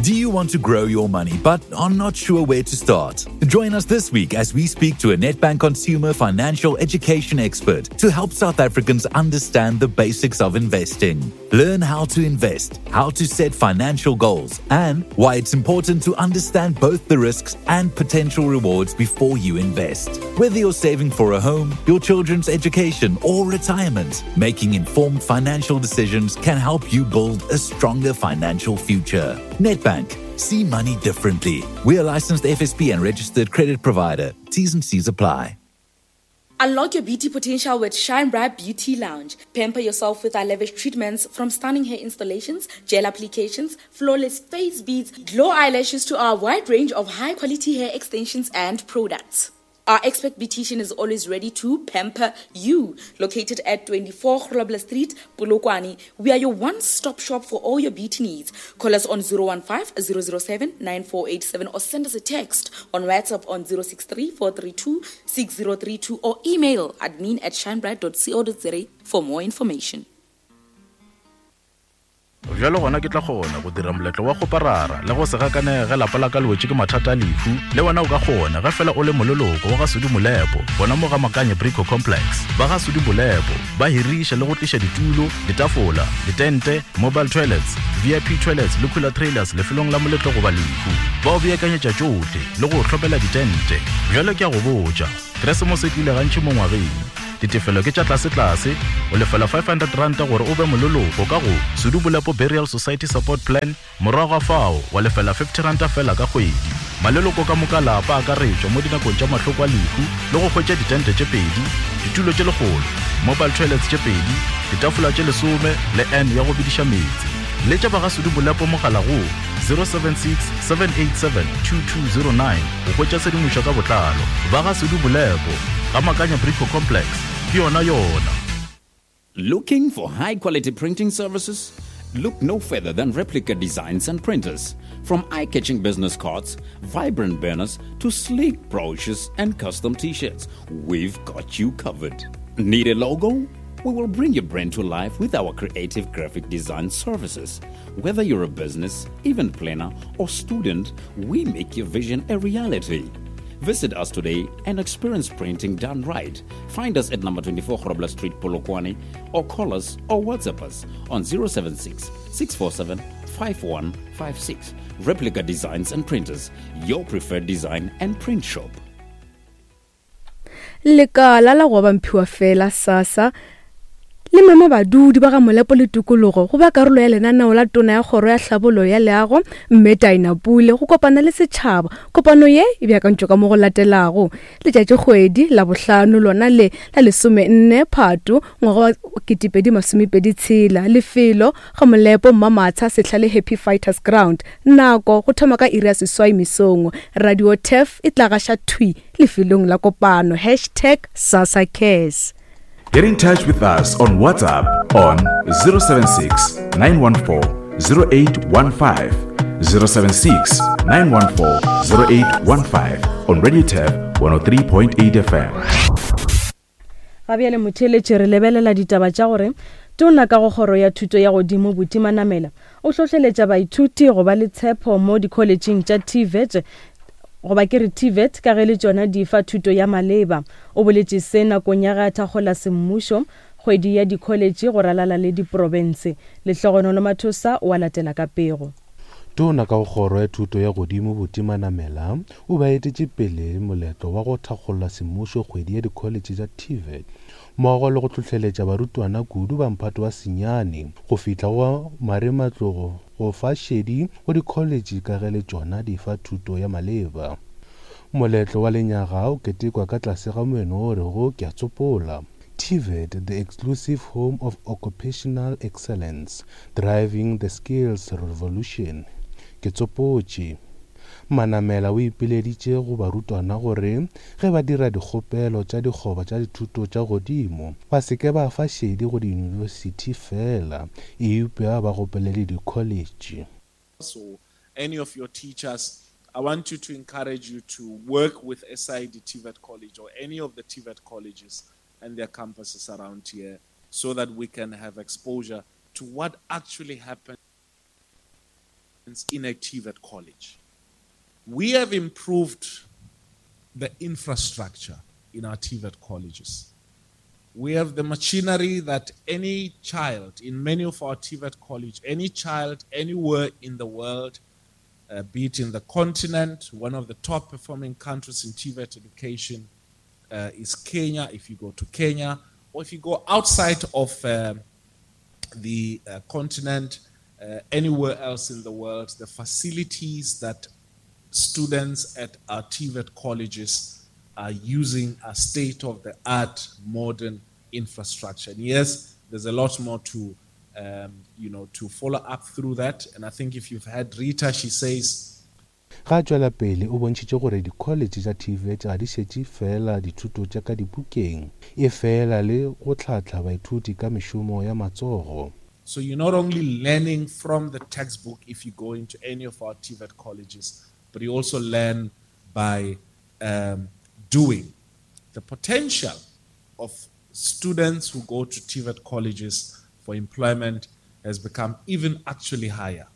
Do you want to grow your money but are not sure where to start? Join us this week as we speak to a Nedbank consumer financial education expert to help South Africans understand the basics of investing. Learn how to invest, how to set financial goals, and why it's important to understand both the risks and potential rewards before you invest. Whether you're saving for a home, your children's education, or retirement, making informed financial decisions can help you build a stronger financial future. Nedbank. See money differently. We are licensed F S P and registered credit provider. T's and C's apply. Unlock your beauty potential with Shine Bright Beauty Lounge. Pamper yourself with our lavish treatments, from stunning hair installations, gel applications, flawless face beads, glow eyelashes to our wide range of high-quality hair extensions and products. Our expert beautician is always ready to pamper you. Located at twenty-four Grobler Street, Polokwane, we are your one-stop shop for all your beauty needs. Call us on zero one five, zero zero seven, nine four eight seven or send us a text on WhatsApp on zero six three, four three two, six zero three two or email admin at shinebright dot co dot za for more information. Bjalo gona ke tla kgona go dira moletlo wa kgoparara le go se gakanege lapa la ka le wetše ke mathata a lehu. Le wena o ka kgona ge fela o le moleloko wa ga Sudi Molepo gona mo ga Makanye Brico Complex. Ba ga Sudi Molepo ba hiriša le go tliša ditulo, ditafola, ditente, mobile toilets, V I P toilets le cooler trailers lefelong la moletlo goba lehu. Ba o beakanyetša tšohle le go hlopela ditente. Bjalo ke a go botša, Keresemose e tlile gantši mo ngwageng. Ditefelo ke tša tlase-tlase, o lefela five hundred ranta gore o be moleloko ka go Sudi Molepo Burial Society Support Plan, morago ga fao wa lefela fifty ranta fela ka kgwedi. Maleloko ka moka lapa a akaretšwa mo dinakong tša mahloko a lehu le go hwetša ditente tše pedi, ditulo tše lekgolo, mobile toilets tše pedi, ditafola tše lesome le N ya go bediša meetse. Letša ba ga Sudi Molepo mogala go zero seven six, seven eight seven, two two zero nine go hwetša tshedimošo ka botlalo. Ba ga Sudi Molepo ga Makanya Brico Complex, ke yona yona. Looking for high quality printing services? Look no further than Replica Designs and Printers. From eye-catching business cards, vibrant banners, to sleek brochures and custom t-shirts, we've got you covered. Need a logo? We will bring your brand to life with our creative graphic design services. Whether you're a business, event planner, or student, we make your vision a reality. Visit us today and experience printing done right. Find us at number twenty-four Grobler Street, Polokwane, or call us or WhatsApp us on zero seven six, six four seven, five one five six. Replica Designs and Printers, your preferred design and print shop. Lekala la go ba mphiwa fela SASSA le mema badudi ba ga Molepo le tikologo go ba karolo ya lenaneo la tona ya kgoro ya tlhabollo ya leago mme Dina Pule go kopana le setšhaba. Kopano ye e beakantšwe ka mo go latelago: letšatši kgwedi la bohlano lona le la lesomenne Phato ngwaga wa ketepedi masomepedi tshela, lefelo ga Molepo Mmamatsha sehla le Happy Fighters Ground, nako go thoma ka iri ya seswai mesong. Radio T E F e tla gaša thwi lefelong la kopano. Hashtag SASSA Cares. Get in touch with us on WhatsApp on zero seven six, nine one four, zero eight one five, zero seven six, nine one four, zero eight one five on Radio T E F one oh three point eight F M. Ga bjale motheeletši re lebelela ditaba tša gore tona ka go kgoro ya thuto ya godimo Buti Manamela o hlohleletša baithuti go ba le tshepo mo dikholetšheng tša T V E T goba ke re T V E T ka ge le tšona di fa thuto ya maleba. O boletše se nakong ya ge a thakgola semmušo kgwedi ya dikholetše go ralala le diprofense. Lehlogonolo Mathosa o a latela ka pego. Tona ka go kgoro ya thuto ya godimo Buti Manamela o ba etetše pele moletlo wa go thakgola semmušo kgwedi ya dikholetše tša T V E T mmogo le go hlohleletša barutwana kudu ba mphato wa senyane go fihla go marematlou go fa šedi go dikholetše ka ge le tšona di fa thuto ya maleba. Moletlo wa lenyaga o ketekwa ka tlase ga moeno o rego ke a tsopola: T V E T, the exclusive home of occupational excellence, driving the skills revolution. Ke tsopotše. Manamela o ipileditše go barutwana gore ge ba dira dikgopelo tša dikgoba tša dithuto tša godimo ba se ke ba fa šedi go diyunibesithi fela, eupša ba gopele le dikholetše. So any of your teachers, I want you to encourage you to work with S I D T V E T College or any of the T V E T colleges and their campuses around here so that we can have exposure to what actually happens in a T V E T college. We have improved the infrastructure in our T V E T colleges. We have the machinery that any child in many of our T V E T college, any child anywhere in the world, uh, be it in the continent, one of the top performing countries in T V E T education, uh, is Kenya. If you go to Kenya, or if you go outside of, uh, the, uh, continent, uh, anywhere else in the world, the facilities that students at our T V E T colleges are using are state-of-the-art modern infrastructure. And yes, there's a lot more to, um, you know, to follow up through that. And I think if you've had Rita, she says, Ga tšwela pele o bontšhitše gore dikholetše tša T V E T ga di šetše fela dithuto tša ka dibukeng, e fela le go hlahla baithuti ka mešomo ya matsogo. So you're not only learning from the textbook if you go into any of our T V E T colleges, but you also learn by, um, doing. The potential of students who go to T V E T colleges for employment has become even actually higher.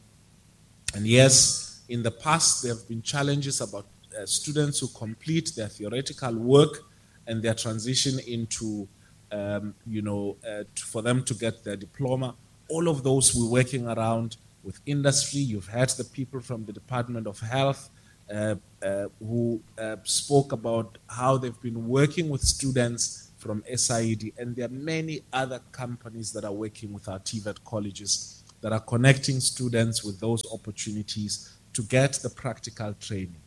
And yes, in the past, there have been challenges about uh, students who complete their theoretical work and their transition into, um, you know, uh, to, for them to get their diploma. All of those we're working around with industry. You've had the people from the Department of Health uh, uh, who uh, spoke about how they've been working with students from S I E D, and there are many other companies that are working with our T V E T colleges that are connecting students with those opportunities to get the practical training.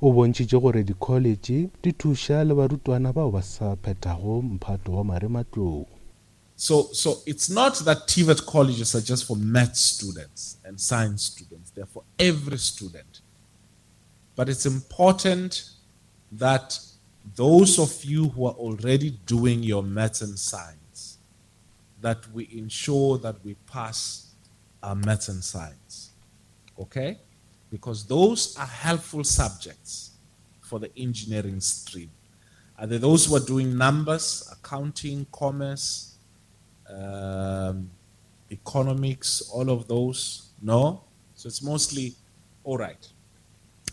O bontšhitše gore dikholetše di thuša le barutwana bao ba sa phethago mphato wa marematlou. So, so it's not that T V E T colleges are just for math students and science students. They're for every student. But it's important that those of you who are already doing your maths and science, that we ensure that we pass our maths and science, okay? Because those are helpful subjects for the engineering stream. Are there those who are doing numbers, accounting, commerce, um, economics, all of those? No? So it's mostly all right.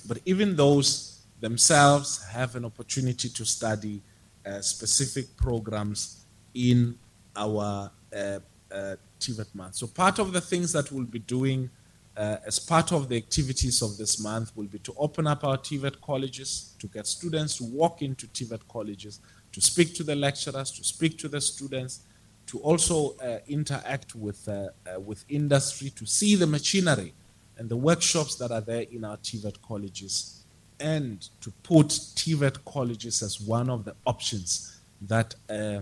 But even those themselves have an opportunity to study, uh, specific programs in our, uh, uh, T V E T month. So part of the things that we'll be doing, uh, as part of the activities of this month will be to open up our T V E T colleges, to get students to walk into T V E T colleges, to speak to the lecturers, to speak to the students, to also, uh, interact with, uh, uh, with industry, to see the machinery and the workshops that are there in our T V E T colleges, and to put T V E T colleges as one of the options that, uh,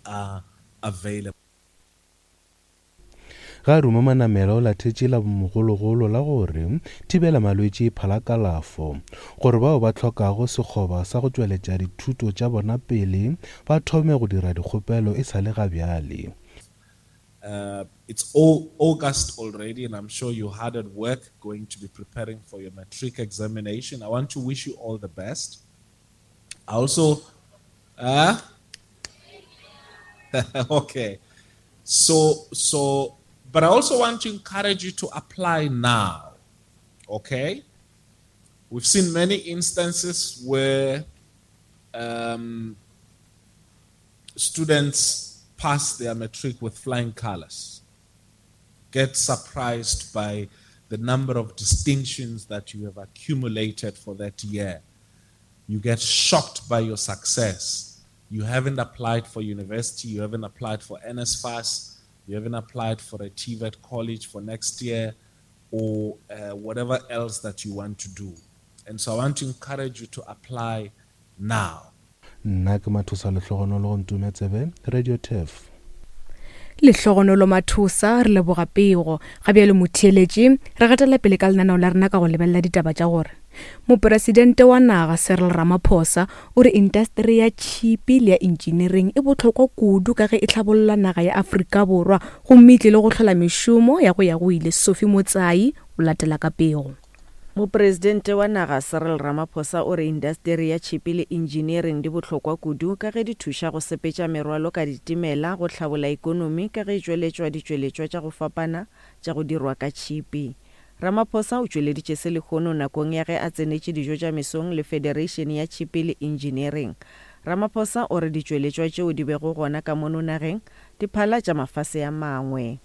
are available. Ga ruma manamela o lathetše la mogologolo la gore thibela malwetši e phala kalafo, gore bao ba hlokago sekgoba sa go tšweletša dithuto tša bona pele ba thome go dira dikgopelo e sa le ga bjale. Uh, it's all August already, and I'm sure you're hard at work going to be preparing for your matric examination. I want to wish you all the best. I also, uh, okay, so, so, but I also want to encourage you to apply now, okay? We've seen many instances where, um, students pass their matric with flying colors, get surprised by the number of distinctions that you have accumulated for that year. You get shocked by your success. You haven't applied for university, you haven't applied for N S F A S, you haven't applied for a T V E T college for next year, or, uh, whatever else that you want to do. And so I want to encourage you to apply now. Nna ke Mathosa Lehlogonolo go Ntume Tsebe, Radio T E F. Lehlogonolo Mathosa, re leboga pego. Ga bjale motheeletši, re gatela pele ka lenaneo la rena ka go lebelela ditaba tša gore Mopresidente wa naga Cyril Ramaphosa o re indasteri ya tšhipi le ya engineering e bohlokwa kudu ka ge e hlabolla naga ya Afrika Borwa gomme e tlile go hlola mešomo ya go ya go ile. Sophie Motsai o latela ka pego. Mopresidente wa naga Cyril Ramaphosa o re indasteri ya tšhipi le engineering di bohlokwa kudu ka ge di thuša go sepetša merwalo ka ditimela go hlabola ikonomi ka ge e tšweletšwa ditšweletšwa tša go fapana tša go dirwa ka tšhipi. Ramaphosa o tšweleditše se lehono nakong ya ge a tsenetše dijo tša mesong le Federation ya Tšhipi le Engineering. Ramaphosa o re ditšweletšwa tšeo di bego gona ka mono nageng di phala tša mafase a mangwe.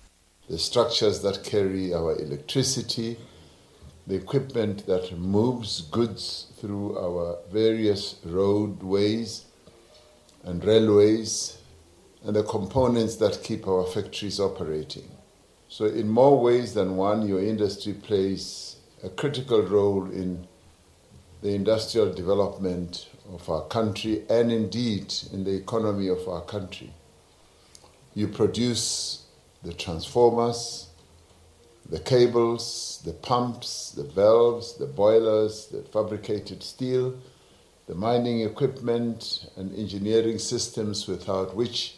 The structures that carry our electricity, the equipment that moves goods through our various roadways and railways, and the components that keep our factories operating. So in more ways than one, your industry plays a critical role in the industrial development of our country and indeed in the economy of our country. You produce the transformers, the cables, the pumps, the valves, the boilers, the fabricated steel, the mining equipment and engineering systems without which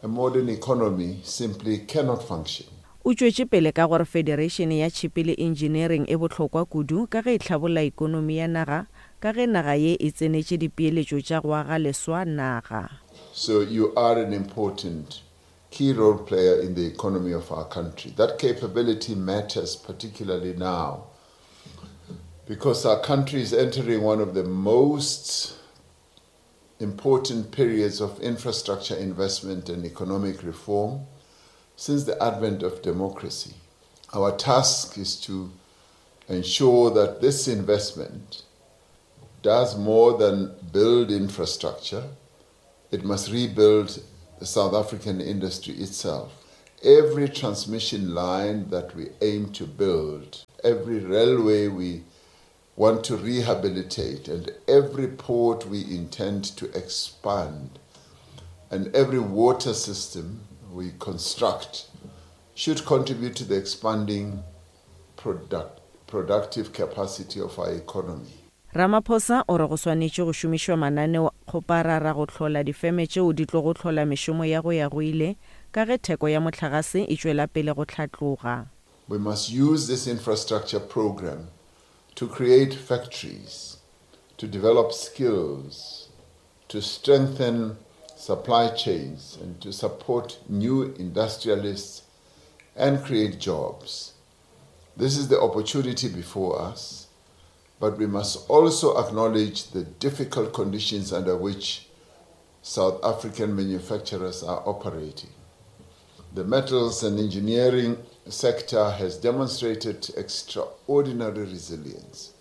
a modern economy simply cannot function. O tšwetše pele ka gore Federation ya Tšhipi le Engineering e bohlokwa kudu ka ge e hlabolla ikonomi ya naga ka ge naga ye e tsenetše dipeeletšo tša go aga leswa naga. So you are an important key role player in the economy of our country. That capability matters particularly now because our country is entering one of the most important periods of infrastructure investment and economic reform since the advent of democracy. Our task is to ensure that this investment does more than build infrastructure. It must rebuild the South African industry itself. Every transmission line that we aim to build, every railway we want to rehabilitate, and every port we intend to expand, and every water system we construct should contribute to the expanding product, productive capacity of our economy. Ramaphosa o re go swanetše go šomišwa mananeo kgoparara go hlola difeme tšeo di tlo go hlola mešomo ya go ya go ile ka ge theko ya mohlagase e tšwela pele go hlatloga. We must use this infrastructure program to create factories, to develop skills, to strengthen supply chains, and to support new industrialists and create jobs. This is the opportunity before us, but we must also acknowledge the difficult conditions under which South African manufacturers are operating. The metals and engineering sector has demonstrated extraordinary resilience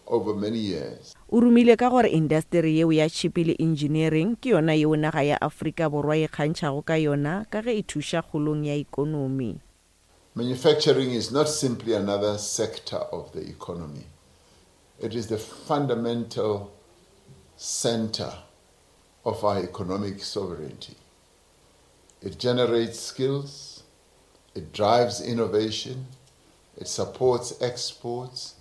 over many years. O rumile ka gore indasteri yeo ya tšhipi le engineering ke yona yeo naga ya Afrika Borwa e kgantšhago ka yona ka ge e thuša kgolong ya ikonomi. Manufacturing is not simply another sector of the economy. It is the fundamental center of our economic sovereignty. It generates skills, it drives innovation, it supports exports,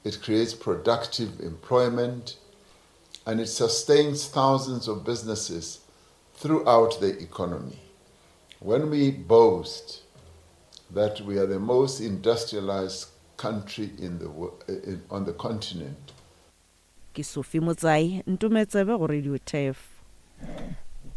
it creates productive employment, and it sustains thousands of businesses throughout the economy. When we boast that we are the most industrialized country in the, in, on the continent. Ke Sophie Motsai, Ntometsebe go Radio Turf.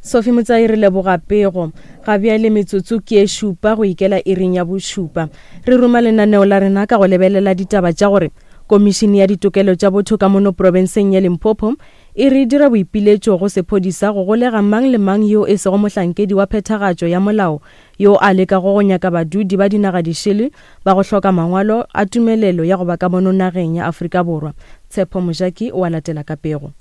Sophie Motsai re leboga pego. Ga bjale metsotso ke e šupa go ikela iring ya bošupa. Re roma lenaneo la rena ka go lebelela ditaba tša gore Komišene ya ditokelo tša botho ka mono profenseng ya Limpopo e re dira boipiletšo go sephodisa go golega mang le mang yo e sego mohlankedi wa phethagatšo ya molao yo a lekago go nyaka badudi ba dinaga dišele ba go hloka mangwalo a tumelelo ya go ba ka mono nageng ya Afrika Borwa. Tshepo Mojaki o a latela ka pego.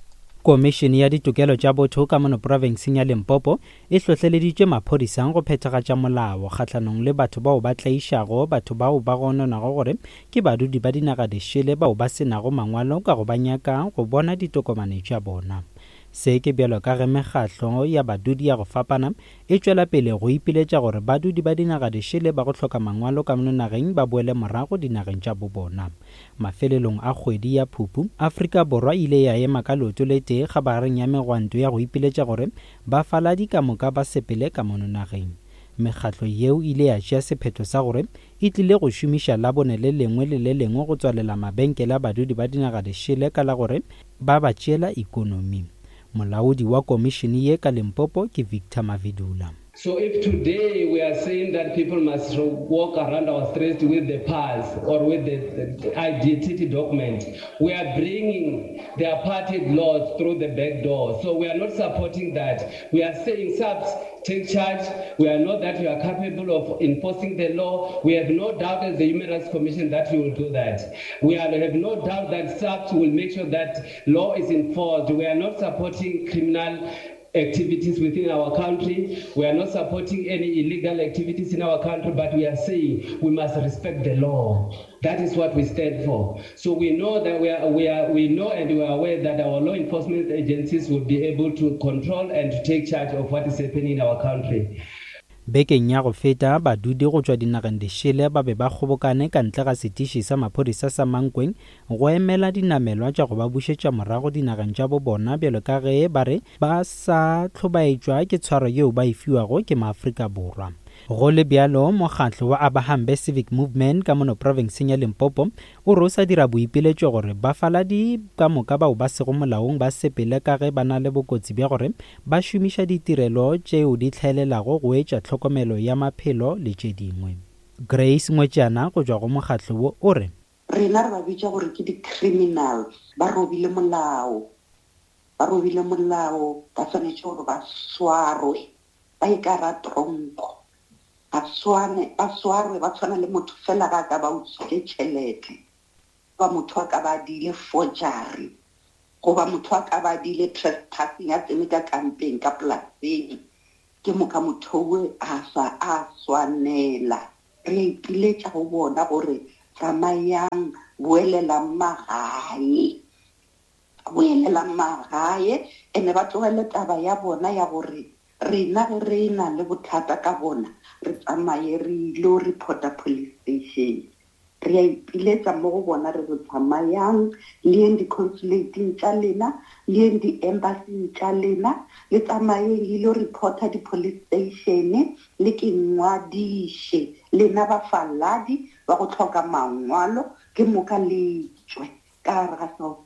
Komišene ya ditokelo tša botho ka mono profenseng ya Limpopo e hlohleleditše maphodisa go phethagatša molao kgahlanong le batho bao ba tlaišago batho bao ba gononago gore ke badudi ba dinaga dišele bao ba senago mangwalo ka go ba nyaka go bona ditokomane tša bona. Se ke bjalo ka ge mekgahlo ya badudi ya go fapana e tšwela pele go ipiletša gore badudi ba dinaga dišele ba go hloka mangwalo ka mono nageng ba boele morago dinageng tša bobona. Mafelelong a kgwedi ya Phupu, Afrika Borwa ile ya ema ka leoto le tee kgabareng ya megwanto ya go ipiletša gore bafaladi ka moka ba sepele ka mono nageng. Mekgatlo yeo ile ya tšea sephetho sa gore e tlile go šomiša labone le lengwe le le lengwe go tswalela mabenkele a badudi ba dinaga dišele ka la gore ba ba tšeela ikonomi. Molaodi wa komišene ye ka Limpopo ke Victor Mavidula. So if today we are saying that people must walk around our streets with the pass or with the, the identity document, we are bringing the apartheid laws through the back door. So we are not supporting that. We are saying SAPS, take charge. We are not that you are capable of enforcing the law. We have no doubt as the Human Rights Commission that you will do that. We are, have no doubt that SAPS will make sure that law is enforced. We are not supporting criminal activities within our country. We are not supporting any illegal activities in our country, but we are saying we must respect the law. That is what we stand for. So we know that we are, we are, we know and we are aware that our law enforcement agencies will be able to control and to take charge of what is happening in our country. Bekeng ya go feta badudi go tšwa dinageng dišele ba be ba kgobokane ka ntle ga setiši sa maphodisa sa Mankweng go emela dinamelwa tša go ba bušetša morago dinageng tša bo bona bjalo ka ge ba re ba sa hlobaetšwa ke tshwaro yeo ba e fiwago ke maAfrika Borwa. Go le bjalo, mokgatlo wa Abahambe Civic Movement ka mono profenseng ya Limpopo o re o sa dira boipiletšo gore bafaladi ka moka bao ba sego molaong ba sepele ka ge ba na le bokotsi bja gore ba šomiša ditirelo tšeo di hlaelelago go etša tlhokomelo ya maphelo le tše dingwe. Grace Ngwetšana go tšwa go mokgatlo wo o re Rena re ba bitša gore ke di-criminals, ba robile molao, ba robile molao, ba swanetše gore ba swarwe, ba ye ka gare ga tronko, ba swane, ba swarwe, ba tshwana le motho fela ga a ka ba utswitše tšhelete, goba motho a ka ba a diile forgery, goba motho a ka ba a diile trespassing, a tsene ka kampeng, ka polaseng, ke moka motho owe a sa a swanela. Re a ipiletša go bona gore tsamayang, boelelang magae, boelelang magae, ene ba tlogele taba ya bona ya gore rena ge re na le bothata ka bona re tsamaye re ilo reporta police station. Re a ipiletša mo go bona re re tsamayang le yeng di-consulating tša lena, le yeng di-embassy tša lena, le tsamayeng le ilo reporta di-police station, le ke ngwadiše lena bafaladi ba go hloka mangwalo, ke moka le tšwe ka gare ga South